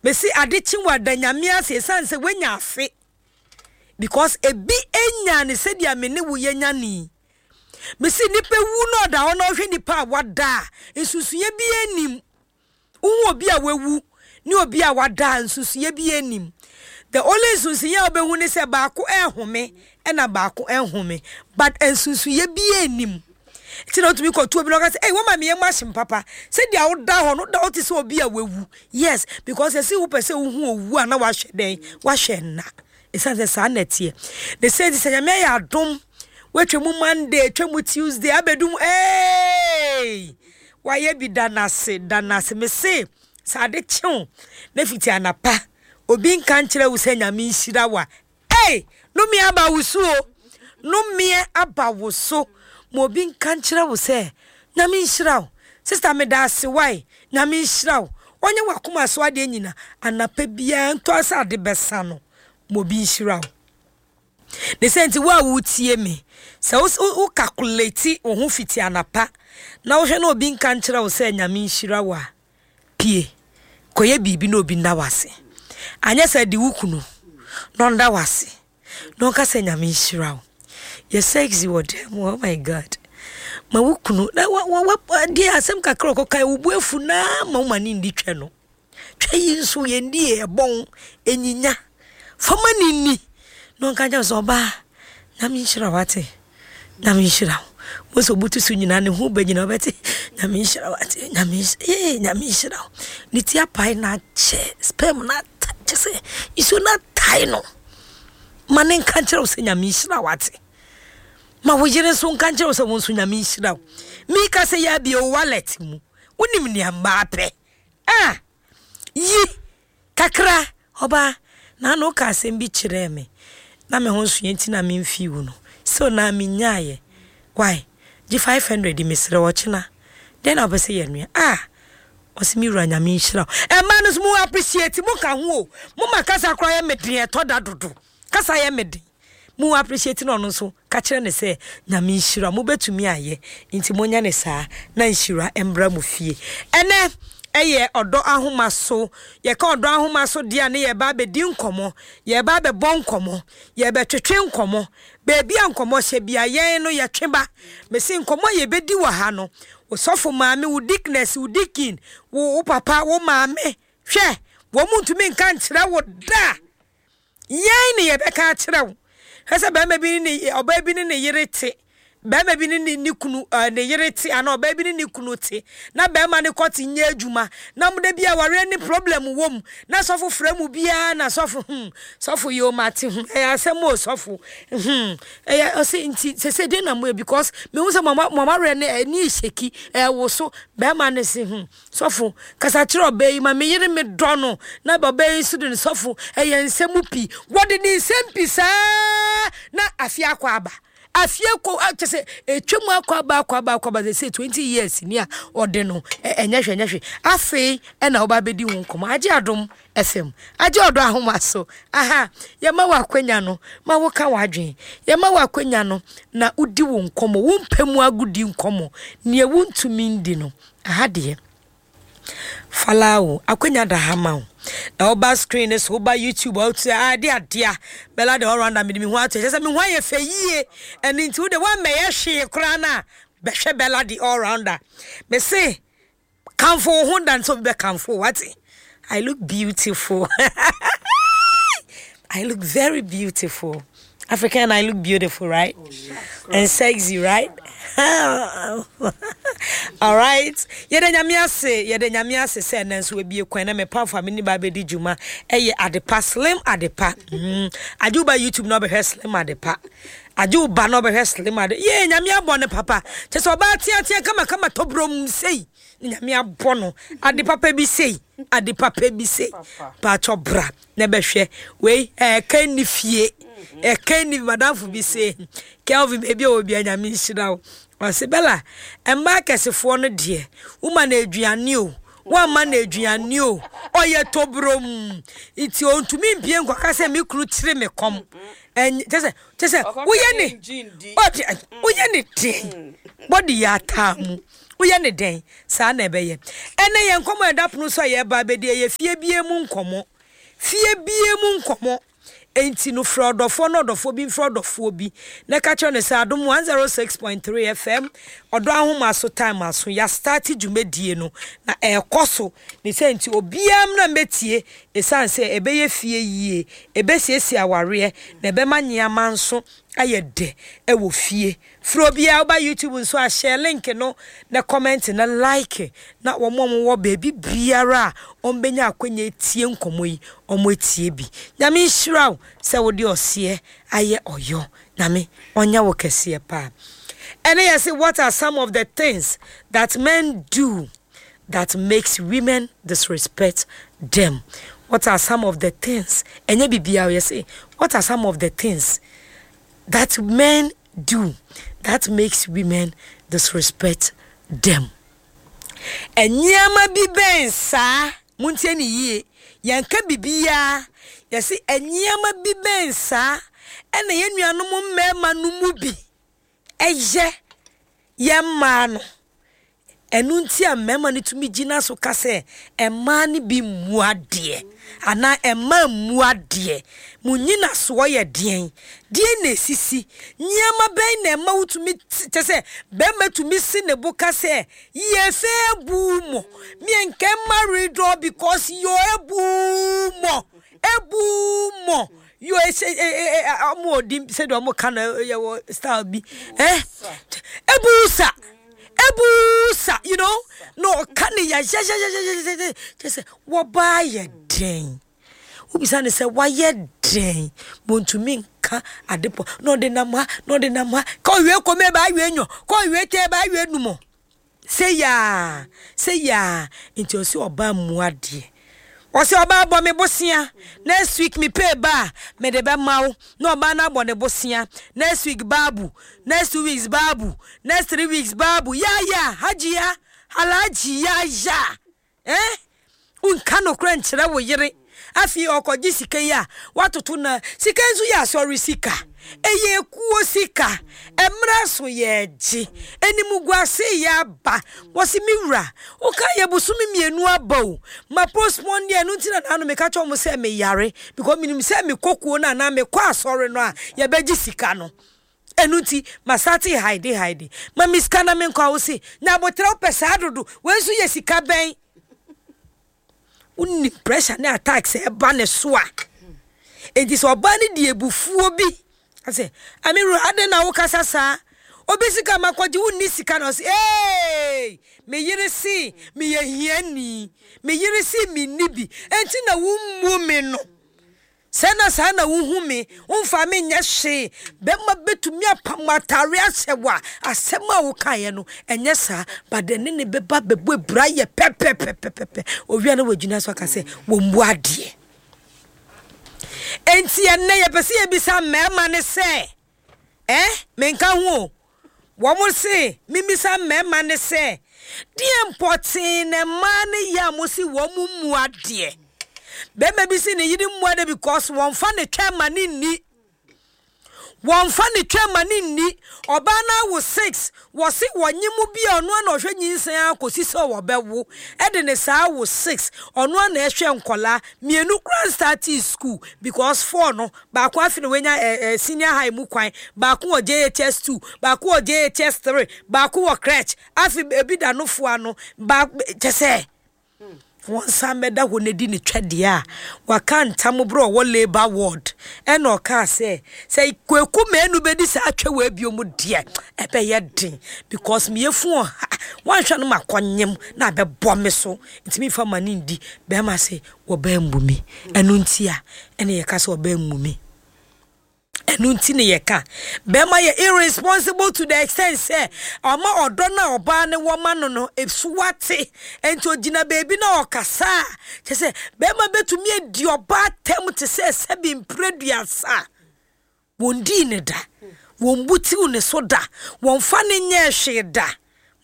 Mese ade kye wo a da Nyame ase ɛsiane sɛ woanya afe because ebi nyaa no sɛdeɛ me ne wo yɛnya no yi. Mese nipa wu na ɔda hɔ na ɔhwɛ nipa a wada a, nsusuiɛ biara nnim. Wohu obi a wawu ne obi a wada a, nsusuiɛ biara nnim. The only nsusuiɛ a wobɛhu ne sɛ baako ɛrehome ɛna baako ɛnhome but nsusuiɛ biara nnim. Nti na wotumi kɔto obi na ɔka sɛ, ei wama me yam ahyem papa. Sɛdeɛ woda hɔ no, woda hɔ te sɛ obi a wawu. Yes, because ɛsɛ wopɛ sɛ wohu owu a na wahwɛ dɛn? Wahwɛ nna. Ɛsiane sɛ saa na ɛteɛ. Ne sɛ nti sɛ Nyame ayɛ adom, woatwa mu Monday, atwa mu Tuesday, abɛdu mu, hey! Wayɛ bi da no ase, da no ase. Mese, sɛ ade kye wo na fiti anapa, obi nka nkyerɛ wo sɛ Nyame nhyira wo a, Ei! Nnome aba wo so o, nnome aba wo so. Ma obi nka nkyerɛ wo sɛ, Nyame nhyira wo. Sister meda ase wai, Nyame nhyira wo. Ɔnyɛ w'akoma so adeɛ nyina, anapa biara ntɔ sɛ ade bɛsa no, ma obi nhyira wo. Ne sɛ nti wo a wotie me, sɛ wo wo calculate wo ho fiti anapa na wohwɛ na obi nka nkyerɛ wo sɛ Nyame nhyira wo a, Pue kɔyɛ biribi na obi nna wo ase. Anyɛ saa di wo kunu na ɔnda wo ase na ɔnka sɛ Nyame nhyira wo. Yɛ sexy wɔ dan mu oh my God. Ma wo kunu na wa wa wa deɛ asɛm kakra ɔkɔka wo bo afu na ma wo ma ne ndi twɛ no. Twɛ yi nso yɛndi yɛ ɛbɔn enyinya. Fa ma ne nni na ɔnka nkyerɛ wo sɛ ɔbaa Nyame nhyira wo ate. Nyame nhyira wo. Mo sɛ obutu so nyinaa ne ho bɛ nyinaa ɔbɛte Nyame nhyira wo ate. Nyame nhyira ee Nyame nhyira wo. Ne ti apae na akyɛ sperm na ata kyɛ sɛ nsuo na atae no. Ma ne nka nkyerɛ wo sɛ Nyame nhyira wo ate. Ma wo yere nso nka nkyerɛ wo sɛ wo nso Nyame nhyira wo. Mika sɛ yɛ abie wo wallet mu. Wonim nea mmaa pɛ. Ah! Yi! Kakra, ɔbaa, naano wokaa asɛm bi kyerɛɛ me na me ho nsoeɛ nti na memfii wo no, still naa mennyaaeɛ, why? Gye 500 yi mesrɛ wo, ɔkyena dɛn na wopɛ sɛ yɛnoa? Ah! Ɔse me wura Nyame nhyira wo. Mmaa no nso mo appreciate, mo ka ho o, mo ma kasa koraa yɛ me den ɛtɔ da dodo, kasa yɛ me den. Mo appreciate no ɔno nso ka kyerɛ no sɛ Nyame nhyira mo bɛtumi ayɛ nti monyɛ no saa na nhyira mbra mo fie. Ɛnɛ ɛyɛ ɔdɔ ahoma so yɛka ɔdɔ ahoma so deɛ a ne yɛba abɛdi nkɔmmɔ yɛba abɛbɔ nkɔmmɔ yɛbɛtwetwe nkɔmmɔ baabi a nkɔmmɔ hyɛ bia yɛn no yɛtwe ba mese nkɔmmɔ a yɛbɛdi wɔ ha no wo sɔfo maame wo deaconess wo deacon wo wo papa wo maame hwɛ wɔn ntumi nka nkyerɛ wo da Yɛn na yɛbɛka akyerɛ wo. Hwɛ sɛ barima bi ne ne ɔbaa bi ne ne yere te, barima bi ne ne ne kunu ɛɛ ne yere te anaa ɔbaa bi ne ne kunu te, na barima no kɔte nyɛ adwuma, na mo da bi awareɛ ne problem wɔ mu, na sɔfo frɛ mu biara na sɔfo hmm sɔfo yoo mate hmm ɛyɛ asɛm o sɔfo hmm ɛyɛ ɔse nti sese den na mo yɛ because mehu sɛ mo mo awareɛ no ɛni hyɛki ɛwoso barima no se hmm Sɔfo, kasa kyerɛ ɔbaa yi ma me yere me dɔ no na ɔbaa yi nso de no sɔfo ɛyɛ nsɛm pii wɔde ne nsɛm pii saa na afie akɔ aba afie kɔ kyɛ sɛ ɛtwa mu akɔ aba akɔ aba akɔ aba sɛ sɛ 20 years ni a ɔde no ɛnyɛ hwɛ ɛnyɛ hwɛ afei ɛna ɔba abɛdi ho nkɔmmɔ agye adom FM agye ɔdɔ ahoma so aha yɛma wɔ akwanya no ma woka w'adwen yɛma wɔ akwanya no na wodi wo nkɔmmɔ wo mpɛ mu agodi nkɔmmɔ nea wontumi ndi no Aha deɛ falaa o, akwanya da ha ma wo. Na woba screen no so, woba YouTube a wotu a ade adea. Bella the all rounder mede me ho ato kyerɛ sɛ me ho ayɛ fɛ yie. Ɛno nti wo de woammɛyɛ hwee koraa no a bɛhwɛ Bella the all rounder. Me se kamfo wo ho dan sɛ obi bɛkamfo wo wate. I look beautiful. I look very beautiful. African, I look beautiful, right? Oh, yes. And sexy, right? All right. Yɛda nyame ase, yɛda nyame ase sɛ ɛnɛ nso ebie kwan na mepamfo a me ne ba bɛdi dwuma ɛyɛ adepa slim adepa. Mm. Agye wo ba YouTube na ɔbɛhwɛ slim adepa. Agye wo ba na ɔbɛhwɛ slim ade. Yee nyame abɔ ne papa. Kyɛ sɛ ɔbaa teatea kama kama tɔbrom sei. Nyame abɔ no ade papa bi sei ade papa bi sei paatwɔ bra na bɛhwɛ wei ɛka nni fie ɛka nni madamfo bi sei Kelvin baabi a wɔ bia Nyame nhyira wo ɔse Bella mmaa kɛsefoɔ no deɛ woma no aduane o woamma no aduane o ɔyɛ tobrom nti ɔntumi mpie nkɔka sɛ me kunu kyere me kɔm kyɛ sɛ kyɛ sɛ woyɛ ne woyɛ ne deɛn bɔde yɛ ataa mu. Woyɛ no dɛn? Saa na ɛbɛyɛ. Ɛnnɛ yɛn nkɔmmɔ a ɛda pono so a yɛreba abɛdi ɛyɛ fie biara mu nkɔmmɔ. Fie biara mu nkɔmmɔ. Enti no frɛ ɔdɔfoɔ na ɔdɔfoɔ bi mfrɛ ɔdɔfoɔ bi na ka kyerɛ no sɛ Adom 106.3 FM Ɔdɔ Ahoma so time aso yɛastarte dwumadie no na ɛrekɔ so ne sɛ nti obiara mmra mmɛtie ɛsiane sɛ ɛbɛyɛ fie yie, ɛbɛsiesie awareɛ na ɛbɛma nneɛma nso ayɛ dɛ wɔ fie. Frɛ obiara, woba YouTube nso a share link no na comment na like na wɔn a wɔwɔ baabi biara a wɔbɛnya akwanya atie nkɔmmɔ yi wɔn atie bi. Nyame nhyira wo sɛ wode ɔseɛ ayɛ ɔyɔ. Nyame ɔnyɛ wo kɛseɛ paa. Ɛne yɛse what are some of the things that men do that makes women disrespect them? What are some of the things? Ɛnyɛ biribiara yɛse what are some of the things that men do that makes women disrespect them. Nneɛma bi bɛn saa, montie no yie, yɛnka biribiara, yɛse nneɛma bi bɛn saa ɛna yɛn nuanom mmarima no mu bi ɛyɛ yɛn mmaa no. Ɛno nti a mmarima no tumi gyina so ka sɛ mmaa no bi mmu adeɛ anaa mmaa mmu adeɛ. Mo nnyinasoɔ yɛ deɛn? Deɛn na ɛsisi? Nneɛma bɛn na ɛma wotumi kyɛ sɛ barima tumi si ne bo ka sɛ yie fɛ bu mo me nkɛ marry dɔ because yo ebu mo ebu mo Yo ese e e e ɔmo wɔ din sɛdeɛ ɔmo ka no yɛ wɔ style bi eh ebusa ebusa you know na ɔka ne yayayayayayaya kyɛ sɛ wɔbaa yɛ den wobisa ne sɛ wayɛ den wɔntumi nka ade pɔ na ɔde nam ha na ɔde nam ha ka ɔwie kɔmɛ ba awie nyɔ ka ɔwie tɛ ba awie numɔ. Sei aa, sei aa, nti ɔse ɔbaa mmu adeɛ. Ɔse ɔbaa bɔ me bosea, next week me pay ba a, mede bɛma wo. Na ɔbaa no abɔ ne bosea, next week baabu, next 2 weeks baabu, next 3 weeks baabu, yaya, hajia, alhaji, yaya. Eh? Wonka nokorɛ nkyerɛ wo yere. Afei ɔkɔgye sika yi a, woatoto no. Sika yi nso yɛ asɔre sika. Ɛyɛ ekuo sika. Mmerɛ so yɛregye. Animguase reyɛ aba. Wɔse me wura, woka yɛ bosome mmienu aba o. Ma postpone deɛ ɛno nti na naano meka kyerɛ wɔn sɛ meyare. Because menim sɛ mekɔ kuo no anaa mekɔ asɔre no a, yɛbɛgye sika no. Ɛno nti, masate haide haide. Ma me sika na menkɔ a wose, nya aboterɛ wopɛ saa dodo. Wei nso yɛ sika bɛn? Wonim pressure ne attacks a ɛba ne so a. Enti sɛ ɔbaa no di abufuo bi, ɔsɛ, Amiru, adɛn na wokasa saa? Obi sika ma kɔgye, wonni sika na ɔse, ee, me yere se meyɛ hiani, me yere se menni bi, enti na wommu me no. Sɛ na saa na wuhu me, womfa me nyɛ hwee. Bɛrima bɛtumi apam w'atare ahyɛ wo a, asɛm a wokaeɛ no, ɛnyɛ saa. But ɛne ne bɛba bɛbɔ abira yɛ pɛpɛpɛpɛpɛ. Owia na wagyina so aka sɛ, wɔmmu adeɛ. Enti ɛnnɛ yɛpɛ sɛ yɛbisa mmarima no sɛ, Eh, menka ho o. Wɔn se memmisa mmarima no sɛ, deɛn pɔtee na mmaa no yɛ a mose wɔn mmu adeɛ? Barima bi se ne yere mmu adeɛ because wɔmfa ne twɛ ma no nni. Wɔmfa ne twɛ ma no nni. Ɔbaa no awo six, wɔse wɔnye mu bi a ɔno ara na ɔhwɛ nyinsɛn ara kɔsi sɛ wɔbɛwo. Ɛde ne saa awo six, ɔno ara na ɛhwɛ nkwadaa. Mmienu koraa nstartee school because four no, Baako afe na wanya eh, eh, senior high mu kwan, baako wɔ JHS 2, baako wɔ JHS 3, baako wɔ crèche, afe ebi da nofo ano, ba kyɛ sɛ wɔnsan bɛda hɔ na di ne twɛdeɛ a waka ntam berɛ ɔwɔ labour ward ɛna ɔkaa sɛ sɛ Kwaku Manu bɛdi saa twɛ wɔ bio mu deɛ ɛbɛyɛ den because meyɛ fu ɔha wanhwɛ no makɔnyem na abɛbɔ me so nti memfa ma ne ndi bɛrima se Wɔbaa mmu me. Ɛno nti a ɛna yɛka sɛ ɔbaa mmu me. Ɛno nti na yɛka bɛrima yɛ irresponsible to the extent sɛ ɔma ɔdɔ no a ɔbaa no wɔ ma no no so ate. Nti ogyina baabi na ɔkasa a kyerɛ sɛ bɛrima bɛtumi adi ɔbaa tɛm te sɛ sɛbi mprɛduasa. Wɔndii no da, wɔmbutiw ne so da, wɔmfa no nyɛɛ hwee da.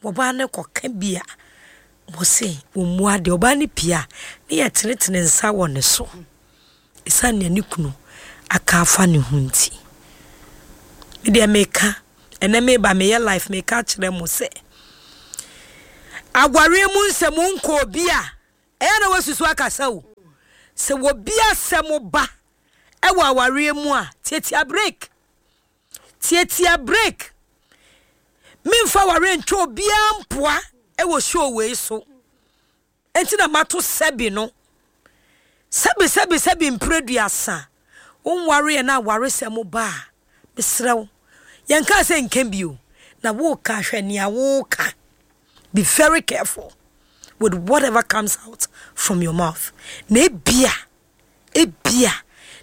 Ɔbaa no kɔka bi a, wɔse wɔmmu adeɛ. Ɔbaa no pie a, ne yɛtenetene nsa wɔ ne so ɛsiane nea ne kunu aka afa ne ho nti. Me deɛ meka, ɛnɛ meba meyɛ life meka akyerɛ mo sɛ, Awareɛ mu nsɛm wonkɔ obi a, ɛyɛ na woasusu akasa o. Sɛ obi asɛm ba wɔ awareɛ mu a, tiatia break. Tiatia break. Memfa awareɛ ntwa obiara mpoa wɔ show wei so. Enti na mato sɛbi no. Sɛbi sɛbi sɛbi mprɛduasa. Wonwareɛ na awaresɛm ba a, mesrɛ wo, yɛnkaa sɛ nka bio, na woka hwɛ nea woka. Be very careful with whatever comes out from your mouth. Na ebia, ebia,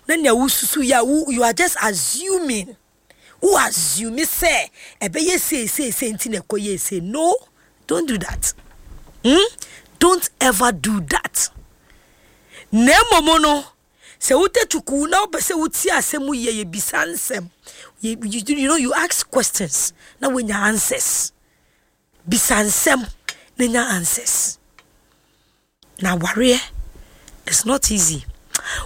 na nea wosusu yɛ a, you are just assuming. Wo assume sɛ ɛbɛyɛ sei sei sei nti na ɛkɔyɛɛ sei. No, don't do that. Hmm? Don't ever do that. Na mmom no, sɛ wotɛ tukuu na wopɛ sɛ wotie asɛm mu yie, yɛbisa nsɛm. You, you, you know, you ask questions na woanya answers. Bisa nsɛm na nya answers. Na awareɛ it's not easy.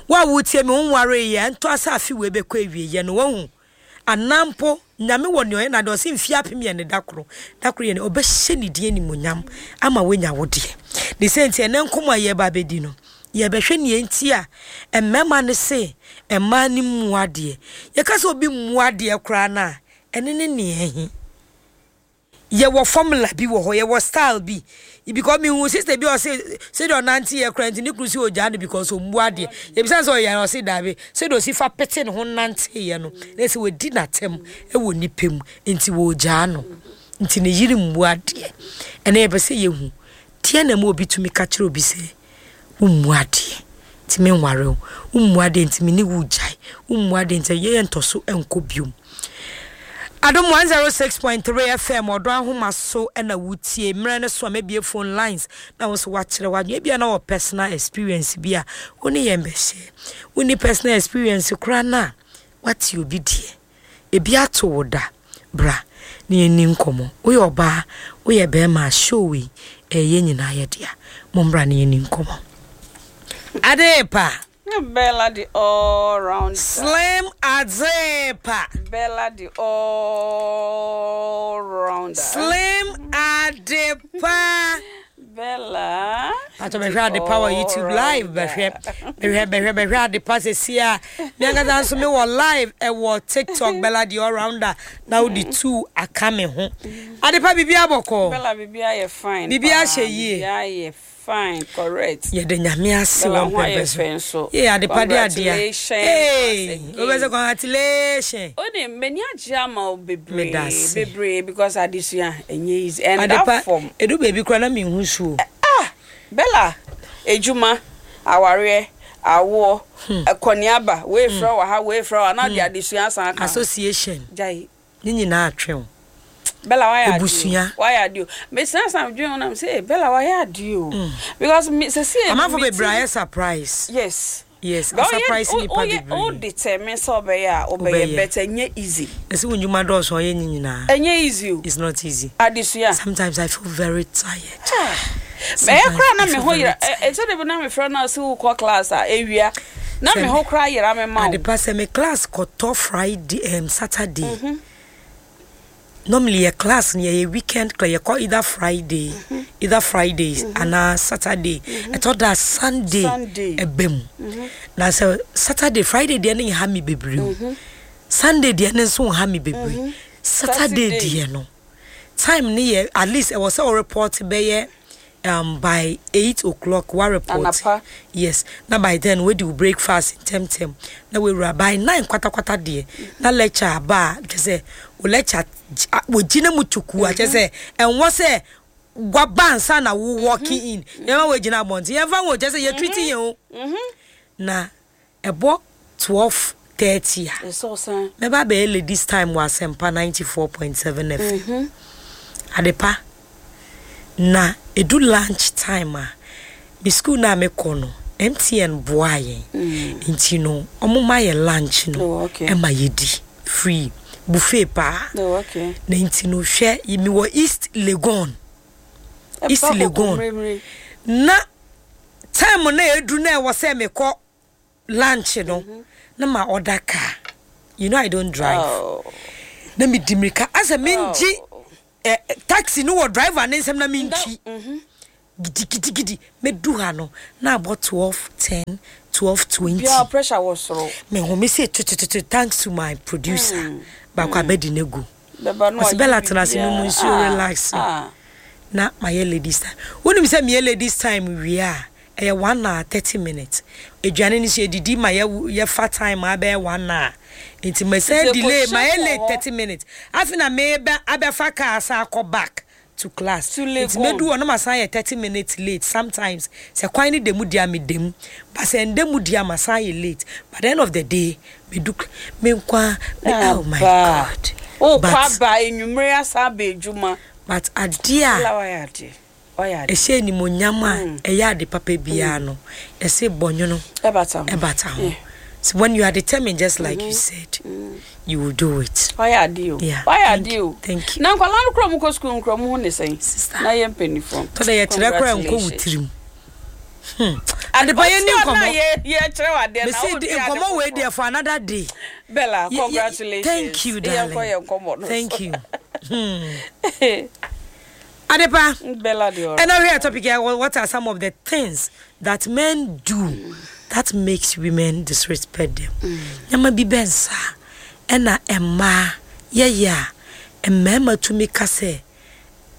Wo a wotie me wonwareeɛ ɛntɔ asa afe wei bɛkɔ awieɛ no wahu anaa mpo Nyame wɔ nea ɔyɛ n'ade ɔse mfie apem yɛ ne da koro da koro yɛ ne ɔbɛhyɛ ne din animuonyam ama woanya wo deɛ ne sɛ nti ɛnɛ nkɔmmɔ a yɛreba abɛdi no yɛbɛhwɛ nea nti a mmarima no se mmaa no mmu adeɛ yɛka sɛ obi mmu adeɛ koraa no a ɛne ne nea ɛhe Yɛwɔ formula bi wɔ hɔ, yɛwɔ style bi. Because me hu sister bi ɔse sɛdeɛ ɔnante yɛ koraa nti ne kunu si ogyaa no because ɔmmu adeɛ. Yɛbisa no sɛ ɔyɛ ɔse daabi. Sɛdeɛ ɔsi fa pete ne ho nante yɛ no, na ɛsɛ wadi n'atɛm wɔ nipa mu nti wɔgyaa no. Nti ne yere mmu adeɛ. Ɛnɛ yɛpɛ sɛ yɛhu deɛ na ɛma obi tumi ka kyerɛ obi sɛ Wommu adeɛ nti menware wo, wommu adeɛ nti me ne wo regyae, wommu adeɛ nti yɛntɔ so nkɔ biom. Adom 106.3 FM ɔdɔ ahoma so na wotie mmerɛ no so a mɛbie phone lines na wo nso woakyerɛ w'adwene ebia na wɔ personal experience bi a wo ne yɛn bɛhyɛ wonni personal experience koraa no a woate obi deɛ Ebi ato wo da? Bra na yɛnni nkɔmmɔ. Woyɛ ɔbaa, woyɛ barima a, show wei, ɛyɛ yɛn nyinaa yɛ dea. Mommra na yɛnni nkɔmmɔ. Adepa! Bella the all rounder. Slim Adepa. Bella the all rounder. Slim Adepa. Bella. Pato bɛhwɛ adepa wɔ YouTube live bɛhwɛ bɛhwɛ bɛhwɛ bɛhwɛ adepa sɛsi a me ankasa nso me wɔ live ɛwɔ TikTok Bella the all rounder na wode tu aka me ho adepa biribi abɔkɔ Bella biribi ayɛ fine biribi ahyɛ yie biribi ayɛ fine correct yɛde nyame ase wɔ mpɛmpɛ so yɛ adepa de adea ee wobɛsɛ congratulation Onim m'ani agye ama wo bebree bebree because adesua ɛnyɛ easy ɛnda fam. Edu baabi koraa na menhu su o. Ah Bella edwuma, awareɛ, awoɔ, kɔneaba, wei frɛ wo wɔ ha, wei frɛ wo ha na wode adesua asan aka ho. Association Gyae. ne nyinaa atwe wo. Bella wayɛ adeɛ o. Ebusua. Wayɛ adeɛ o. Mesena san medwen ho na me sɛ eh Bella wayɛ adeɛ o. Because me sɛsɛ Amanfo bebree ayɛ surprise. Yes. Yes, a surprise nipa bebree. Wo determine sɛ ɔbɛyɛ a wobɛyɛ but ɛnyɛ easy. Ɛsɛ wo ndwuma dɔɔso a ɔyɛ ne nyinaa. Ɛnyɛ easy o. It's not easy. Adesua. Sometimes I feel very tired. Ɛyɛ koraa na me ho yera ɛsɛ de bi na me frɛ na ɔsɛ wokɔ class a ewia na me ho koraa yera me ma wo. Adepa sɛ me class kɔtɔ Friday um, Saturday. Mm -hmm. Normally yɛ class no yɛyɛ weekend class yɛkɔ either Friday mm -hmm. either Fridays mm -hmm. anaa Saturday mm -hmm. ɛtɔ da Sunday ɛbɛ mu mm -hmm. na sɛ Saturday Friday deɛ no nha me bebree o mm -hmm. Sunday deɛ no nso nha me bebree mm -hmm. Saturday deɛ no time no yɛ at least ɛwɔ sɛ ɔreport bɛyɛ um, by 8 o'clock wa report Anapa. yes na by then wadi wo breakfast ntɛmntɛm na wawura by 9 kwatakwata deɛ na lecture aba a kyɛ sɛ wo lecture wɔgyina mu tuku a kyɛ sɛ ɛnwɔ sɛ waba ansa na wo walking in yɛma wɔagyina abɔnten yɛmfa ho kyɛ sɛ yɛtreat yɛn o na Ɛbɔ 12:30 a, mɛba abɛyɛ ladies time wɔ Asɛmpa 94.7 FM. Adepa, na ɛdu lunch time a, me school no a mekɔ no, MTN boaa yɛn. Nti no, wɔma yɛ lunch no ma yɛdi free, buffet paa. Na nti no, hwɛ, mewɔ East Legon. East Legon. Na Time no a ɛduru na ɛwɔ sɛ mekɔ lunch no na ma order car you know I don't drive oh. na medi mirika asɛ mengye oh. eh, taxi no wɔ driver ne nsam na mentwi. Gidigidigidi mɛdu ha no na abɔ 12:10, 12:20. Bia pressure wɔ soro. Me home sɛ tutututu, thanks to my producer baako abɛdi no agu. Bɛba no Ɔsi wayɛ Bella tena ase nom biribiara. nsuo, Ah, relax. ah. Na mayɛ ladies time. Wonim sɛ meyɛ ladies time wie a, ɛyɛ 1 hour 30 minutes. Aduane no so yɛdidi ma yɛ yɛfa time a bɛyɛ 1 hour. Nti masan Nti delay, ɛkɔhyɛ mayɛ wɔ late hɔ. 30 minutes. Afei na meba abɛfa car asan akɔ back to class. To Nti Legon. medu hɔ na masan yɛ 30 minutes late sometimes. Sɛ kwan no da mu di a, meda mu. But sɛ ɛnda mu di a, masan yɛ late. But the end of the day, medu me nkwa me, oh my Aba. God. Wokɔ But aba enwummere asan aba adwuma. But adeɛ a Bella wayɛ adeɛ. Wayɛ adeɛ. ɛhyɛ animuonyam a ɛyɛ ade papa biara no, ɛsɛ bɔnwono Ɛbata ho. ɛbata ho. Yeah. So when you are determined, just like you said, you will do it. Wayɛ adeɛ o. Yeah. Wayɛ Thank adeɛ you. o. Thank you. Na nkwadaa no kura mu kɔ sukuu nkura mu ho ne sɛn? Sister. Na yɛ mpanyinfoɔ. Tɔ dɛ yɛkyerɛ koraa nkɔ wo tirim. Adepa yɛ ni Ɔte hɔ na nkɔmmɔ. yɛkyerɛ wo adeɛ na Mesi wodi di ade nkɔmmɔ wei foforɔ. deɛ for another day. Bella, congratulations. Thank you, darling. Yɛnkɔ yɛn nkɔmmɔ no so. Thank you. Adepa. Bella deɛ ɔrɔ. And now here topic here, what are some of the things that men do that makes women disrespect them? Nyama bi bɛn saa ɛna mmaa yɛyɛ a mmarima tumi ka sɛ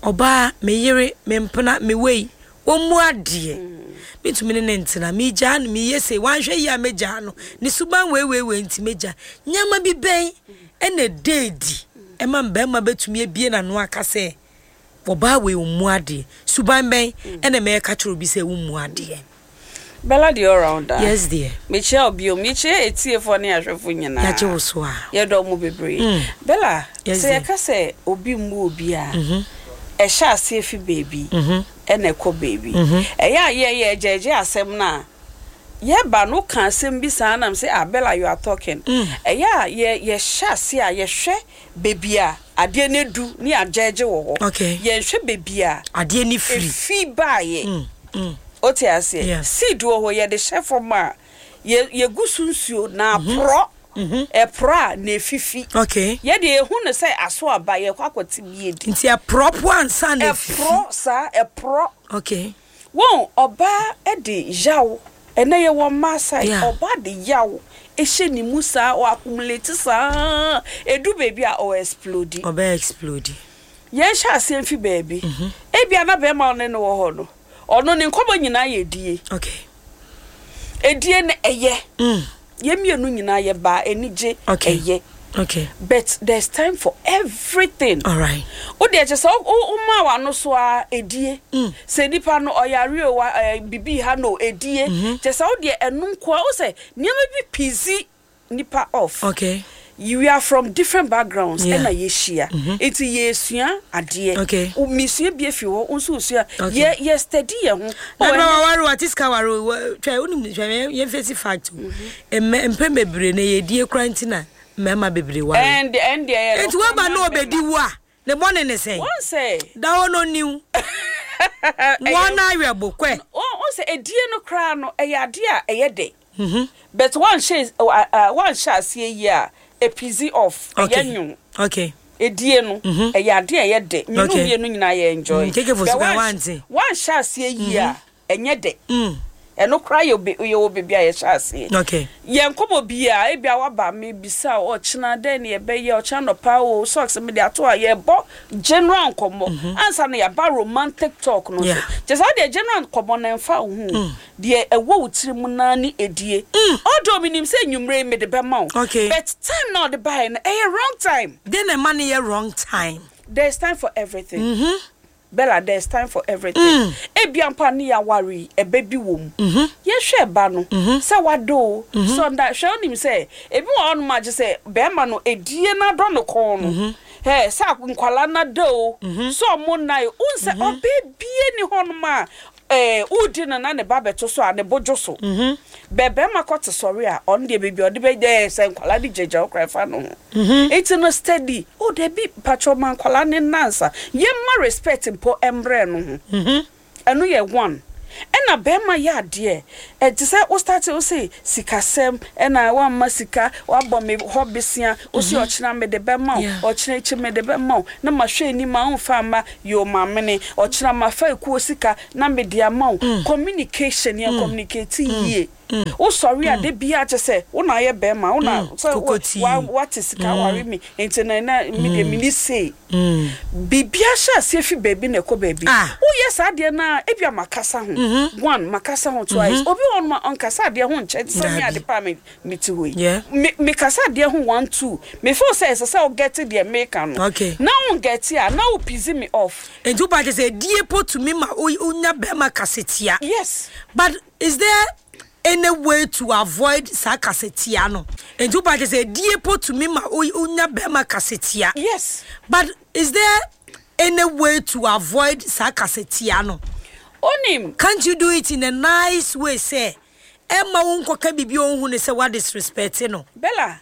ɔbaa me yere me mpena me wei wɔn mu adeɛ mentumi ne ne ntena, megyaa no, meyɛ sei, wanhwɛ yie a megyaa no, ne suban wei wei wei nti megyaa. Nneɛma bi bɛn ɛna ɛda adi ɛma mmarima bɛtumi abie n'ano aka sɛ ɔbaa wei ɔmmu adeɛ? Suban bɛn ɛna ɛma yɛka kyerɛ obi sɛ wommu adeɛ? Bella the all rounder. Yes dear. Mekyia wo bio. Mekyia etiefoɔ ne ahwɛfo nyinaa. Yɛagye wo so a. Yɛdɔ mo bebree. Bella, Yes, sɛ dear. yɛka sɛ obi mmu obi a, ɛhyɛ aseɛ fi baabi ɛna ɛkɔ baabi. Ɛyɛ a yɛyɛ gyɛɛgyɛ asɛm no a, yɛba no woka asɛm bi saa nam sɛ, ah Bella, you are talking. Ɛyɛ a yɛhyɛ aseɛ a yɛhwɛ baabi a adeɛ no adu ne yɛagyɛɛgye wɔ hɔ. Yɛnhwɛ baabi a Adeɛ no firi. efi baeɛ. Wote aseɛ? Seed wɔ hɔ, yɛde hyɛ fam a, yɛgu so nsuo na aporɔ. Ɛporɔ a na efifi. Yɛde ehu no sɛ aso aba, yɛkɔ akɔte bi edi. Nti ɛporɔ po ansa na efifi. Ɛporɔ saa, ɛporɔ. Wɔn ɔbaa de yaw, ɛnɛ yɛ wɔ mmaa side, ɔbaa de yaw ehyɛ ne mu saa, ɔ accumulate saa, edu baabi a ɔ explode. Ɔbɛ explode. Yɛn hyɛ aseɛ mfi baabi. Ebia na bɛrima ɔne no wɔ hɔ no, ɔno ne nkɔmɔ nyinaa yɛ edie. Edie no ɛyɛ. Yɛn mmienu nyinaa yɛ baa anigye ɛyɛ. But there's time for everything. All right. O deɛ kyɛ sɛ o maa w'ano so a edie. Sɛ nipa no ɔyare o wa bibi ha no edie. Kyɛ sɛ o deɛ ɛno nkoa o sɛ nneɛma bi pisi nipa off. We are from different backgrounds. Ɛna yɛhyia. Nti yɛsua adeɛ. Mesua bi afi hɔ, wo nso wosua. Yɛ steady yɛ ho. Na na waware wa tiska ware twɛ wonim hwɛ yɛn face fact o. Mpɛn bebree na yɛdie kora nti na mmarima bebree ware. Ɛndeɛ yɛ Nti woaba na ɔbɛdi wo a ne bɔne ne sɛn? Wɔn sɛ Da hɔ no niw. Wɔn ayɛ bo kɔ. Wɔn sɛ edie no koraa no ɛyɛ adeɛ a ɛyɛ dɛ. But wɔnhyɛ wɔnhyɛ aseɛ yie a epizi off ɛyɛ nwom. Edie no ɛyɛ adeɛ a ɛyɛ dɛ. Mmienu mmienu nyinaa yɛ enjoy. Keke fo But so ka wante. wɔnhyɛ aseɛ yie a ɛnyɛ dɛ. Ɛno koraa yɛ yɛ wɔ baabi a yɛhyɛ aseɛ. Yɛn nkɔmɔ biara ebi a waba mi bisa ɔkyena dɛn na yɛbɛyɛ ɔkyena nɔpa o socks mi de ato a yɛbɔ general nkɔmɔ ansa na yɛaba romantic talk no so. Kyɛ sɛ ɔdeɛ general nkɔmɔ na ɛmfa wo ho. Deɛ ɛwɔ wo tiri mu naa ne edie. Although mi nim sɛ enyimire mi de bɛma wo. But time na ɔde baeɛ no ɛyɛ wrong time. Den na ɛma no yɛ wrong time? There is time for everything. Bella, there is time for everything. Ebia mpo a ne yɛaware yi, ɛbɛ bi wɔ mu. Yɛhwɛ ɛba no, sɛ wada o, sɛ ɔnda, hwɛ wonim sɛ, ebi wɔ hɔnom a gye sɛ bɛrima no edie no adɔ ne kɔn no. Hɛ, sɛ nkwalaa no ada o, sɛ ɔmo nna o, wohu sɛ ɔbaa bie ni hɔnom a, wodi no na ne ba bɛto so a, ne bo dwo so. Bɛ bɛrima kɔte sɔre a, ɔno deɛ baabi a ɔde bɛ, sɛ nkwalaa de gyagya wo koraa ɛfa no ho. Nti no steady, oh dabi, mpakyɛw ma nkwalaa ne nansa. Yɛmma respect mpo mbrɛ no ho. Ɛno yɛ one. Ɛna bɛɛma yɛ adeɛ ɛte sɛ wo starte wo se sikasɛm ɛna wamma sika wabɔ me hɔ besea wo se ɔkyena mede bɛma wo ɔkyena akyi mede bɛma wo na mahwɛ anim a womfa mma yoo mamene ɔkyena mafa ekuo sika na mede ama wo communication yɛn communicate yie wo sɔre a da biara kyɛ sɛ wo na ayɛ bɛɛma wo na sɛ wate sika aware me nti na na me deɛ meni sei. Biribiara hyɛ aseɛ fi baabi na ɛkɔ baabi. Woyɛ saa adeɛ no a, ebia makasa ho one, makasa ho twice. Obi wɔ hɔnom a, ɔnkasa adeɛ ho nkyɛ te sɛ me ade pa a mete hɔ yi. Me mekasa adeɛ ho one, two. Me feel sɛ ɛsɛ sɛ wo get deɛ meka no. Na wo get a, na wo piss me off. Nti wo ba kyerɛ sɛ adie po tumi ma wonya bɛrima kasatia? Yes. But is there any way to avoid saa kasatia no? Nti wo ba kyerɛ sɛ edie po tumi ma wo nya bɛrima kasatia? Yes. But is there any way to avoid saa kasatia no? Onim. Can't you do it in a nice way sɛ ɛmma wo nkɔka biribi a ɔnhu no sɛ wa disrespect no? Bella,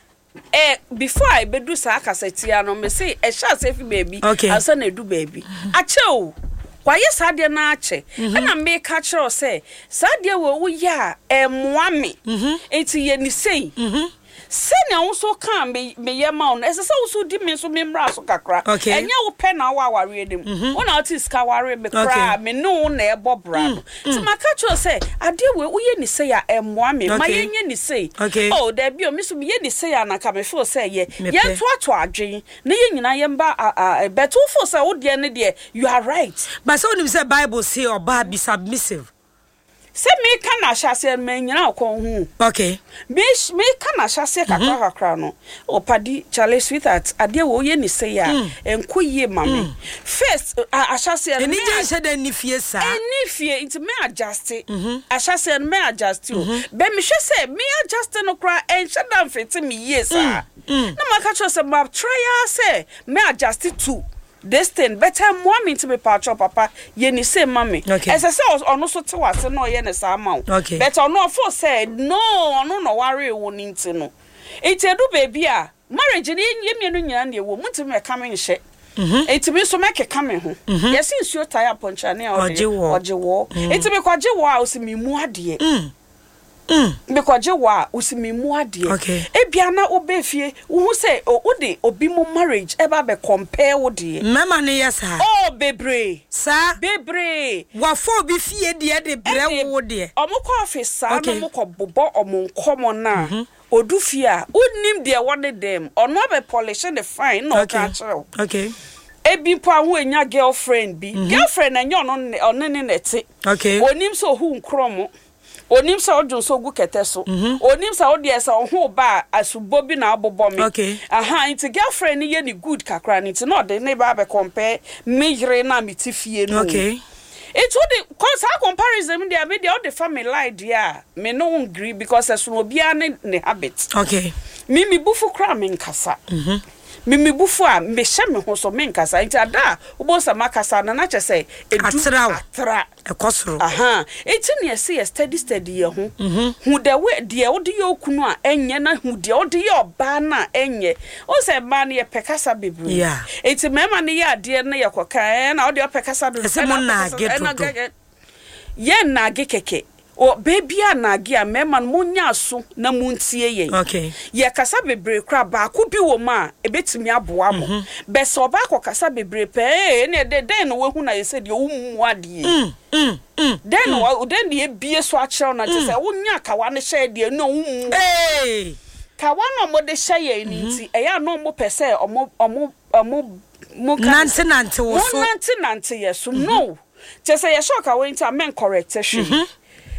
Eh before a ebedu saa kasatia no mese ɛhyɛ aseɛ fi baabi okay. ansa na edu baabi. Akyɛ o, wayɛ saa adeɛ no akyɛ. Mm -hmm. Ɛna meka kyerɛ wo sɛ saa adeɛ wɔ woyɛ a ɛmmoa me. Mm -hmm. Nti yɛ ne sei. Mm -hmm. Sɛnea wo nso kaa me meyɛ ma wo no, ɛsɛ sɛ wo nso di me nso me mmara so kakra. Okay. Ɛnyɛ wo pɛ na wɔ awareɛ no mu. Mm -hmm. Wo na wote sika ware me koraa, okay. Me ne wo na ɛbɔ bra no. Nti maka kyerɛ wo sɛ, adeɛ wei woyɛ ne sei a ɛmmoa me, ma yɛnyɛ ne sei. Oh, daabi o, me nso meyɛ ne sei a na anka me feel sɛ ɛyɛ. Yɛntoatoa adwene na yɛn nyinaa yɛmba a, a, but wo feel sɛ wo deɛ no deɛ, you are right. But sɛ wonim sɛ Bible se ɔbaa be submissive. Sɛ meka no ahyɛaseɛ no, mannyina wo kɔn ho o. Okay. Me, meka no ahyɛaseɛ kakra kakra no, oh Padi, Charlie, sweetheart, adeɛ wei woyɛ no sei a, ɛnkɔ yie ma me. First, a, ahyɛaseɛ no, me. Anigye nhyɛ da nni fie saa. Ɛnni fie, nti me adjuste. Ahyɛaseɛ no, me adjuste o. But mehwɛ sɛ me adjuste no koraa, ɛnhyɛ da mfete me yie saa. Na maka kyerɛ wo sɛ, ma try ara sɛ mɛ adjuste to This thing but ɛmmoa me nti mepaakyɛw papa yɛ ne sei ma me. Okay. Ɛsɛ sɛ ɔno so te w'ase na ɔyɛ ne saa ma wo. Okay. But ɔno ɔfeel sɛ no ɔno na ɔwaree wo no nti no. Nti ɛdu baabi a marriage no yɛn mmienu nyinaa na ɛwɔ mu ntumi mɛka me nhyɛ. Nti me nso mɛkeka me ho. Yɛse nsuo tae apɔnkyerane a ɔde ɔgye wɔɔ. Nti mekɔgye wɔɔ a ɔse memmu adeɛ. Mekɔgye wo a, wosi me mu adeɛ. Okay. Ebia na wobɛ fie, wohu sɛ o, wode obi mo marriage ɛba abɛ compare wo deɛ. Mmarima no yɛ saa. Oh, bebree. Saa. Bebree. Wafa obi fie deɛ de brɛ wo wo deɛ. Ɔmo kɔ office saa Okay. na ɔmo kɔ bobɔ ɔmo nkɔmɔ no a, odu fie a, wonnim deɛ ɛwɔ ne dan mu. Ɔno abɛ polish ne fine na ɔka Okay. akyerɛ wo. Okay. Ebi mpo a ho enya girlfriend bi. Girlfriend no ɛnyɛ ɔno ne ɔne ne na ɛte. Okay. Onim sɛ ohu nkorɔmo. Onim sɛ wodwo nso gu kɛtɛ so. Onim sɛ wo deɛ sɛ wo ho ba a asubɔ bi na abobɔ me. Okay. Aha nti girlfriend no yɛ ne good kakra no nti na ɔde ne ba abɛ compare me yere no a mete fie no. Okay. Nti wode kɔ saa comparison no deɛ me deɛ wode fa me lie deɛ a me ne wo ngree because ɛsono obiara ne ne habit. Okay. Me me bufu koraa me nkasa. Me me bufu a mehyɛ me ho so me nkasa nti ada a wobɛhu sɛ makasa no na kyerɛ sɛ edu Atra wo. atra. Ɛkɔ soro. Ahaa enti na yɛse yɛ steady steady yɛ ho. Hu the way deɛ wode yɛ okunu a ɛnyɛ na hu deɛ wode yɛ ɔbaa no a ɛnyɛ. Wohu sɛ mmaa no yɛpɛ kasa bebree. Yeah. Enti mmarima no yɛ adeɛ na yɛkɔka ɛɛ na wodeɛ wopɛ kasa dodo. Ɛsɛ ɛna mo wopɛ kasa naage ɛna dodo. gɛgɛ. Yɛ nnaage kɛkɛ. Wɔ bɛ biaa nnaage a, mmarima no monyɛ aso na montie yɛn. Okay. Yɛ kasa bebree koraa baako bi wɔ mu a ɛbɛtumi aboa mo. Bɛ sɛ ɔbaa kɔ kasa bebree pɛ ee ɛneɛ dɛ dɛn na wahu na ayɛ sɛ deɛ wommu adeɛ yi. Dɛn na wa dɛn na yɛbie so akyerɛ wo na kyerɛ sɛ wonya kawa no hyɛɛ deɛ na wommu. Ee! Kawa no a wɔde hyɛ yɛn no nti ɛyɛ a na wɔpɛ sɛ wɔn wɔn wɔn mo ka ne sɛ Nante nante wo so. Monante nante yɛ so. No! Kyerɛ sɛ yɛhyɛ ɔkawa nti a mɛnkɔrɛkte hwee.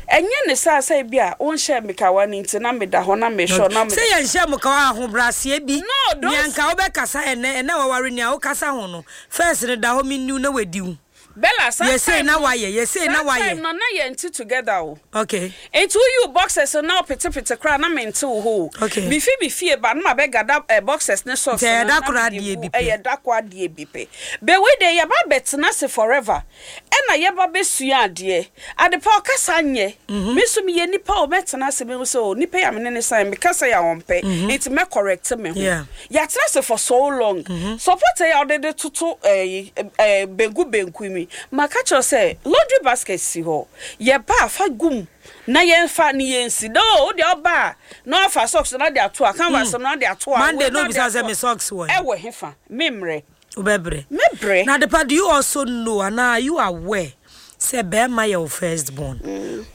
Ɛnyɛ ne saa sɛ ebi a wonhyɛɛ me kawa no nti na meda hɔ na mehwɛ wo na me. Sɛ yɛnhyɛɛ mo kawa a ahobrɛaseɛ bi. No, Nea those. nka wobɛkasa ɛnnɛ, ɛnnɛ waware nea wokasa ho no, first no da hɔ menni wo na wadi wo. Bella, saa Yɛ sei time na no, wayɛ, yɛ sei na saa wayɛ. time no na yɛnte together o. Okay. Nti woyi wo boxers no na wopetepete koraa na mente wo hɔ o. Okay. Mefi me fie ba na mabɛgada eh, boxers ne socks Nti ɛyɛ no da na koro mede adeɛ gu, bi pɛ. ɛyɛ da koro adeɛ bi pɛ. But wei deɛ yɛba abɛtena ase forever ɛna yɛba bɛsua adeɛ. Adepa ɔkasa nyɛ. Me nso meyɛ nipa o, mɛtena ase mehu sɛ o nipa yi a me ne no san meka sɛ yɛ a ɔmpɛ nti mɛ correct me ho. Yeah. Yɛatena ase for so long. Supporter yi a wode de toto ɛyi eh, benku benku yi. wei. Maka kyerɛ wo sɛ laundry basket si hɔ. Yɛba a fa gu mu na yɛmfa ne yɛnsi. No, wo deɛ ɔba a na wafa socks no de ato a, canvas no de ato a, Monday wei na no de obisa ato sɛ a. me socks wɔ he? Ɛwɔ hefa? Memmerɛ. Wobɛbrɛ. Mɛbrɛ. Na Adepa, do you also know anaa are you aware sɛ bɛrima yɛ wo first born?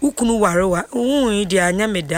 Wo kunu ware wo a, wohui deɛ anyɛ me dɛ.